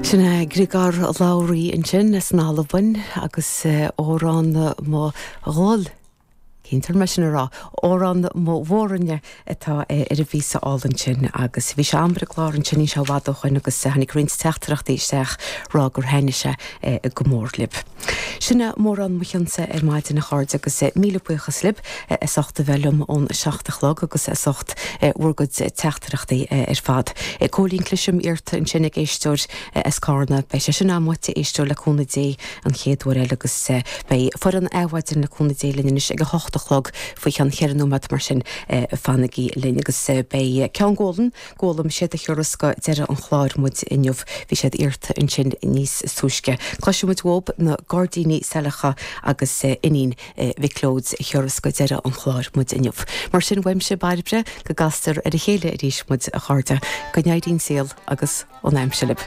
Sin é Griogair Labhruidh ansin as an Albain agus Òran mo Ghol, cinnte mé sin a rá, Òran mo Mhòr-Aoine atá ar an bpíosa álainn sin agus bhí sé a'm ar an gclár ansin níl sé i bhfad ó shoin agus tháinig roinnt teachtaireachtaí isteach rá gur thaitnigh sé go mór libh. Sin é mórán mo chionnsa ar maidin a chairde agus míle buíochas libh as ucht a bheith liom ón 7 a chlog agus as ucht bhur gcuid teachtaireachtaí ar fad. Cóilín Clisham iarrta ansin ag éisteoir as Cárna. Beidh sé sin a'm uait a éisteoir le cúnamh Dé an chéad uair eile agus beidh foireann Adhmhaidin le cúnamh Dé linn anois ag a hocht a chlog faoi cheann cheithre nóiméad mar sin fanaigí linn agus beidh Ceann Gólan Gólaim, siad a thiúrfas go deireadh an chláir muid inniu. Bhí siad iarrta ansin níos túisce. Cloisfidh muid uathub na Gairdíní Saileacha agus Iníon Mhic Leoid a thiúrfas go deireadh an chláir muid inniu. Mar sin uaimse, Bairbre, go gcastar ar a chéile arís muid, a chairde. Go n-éirí an saol agus an aimsir libh.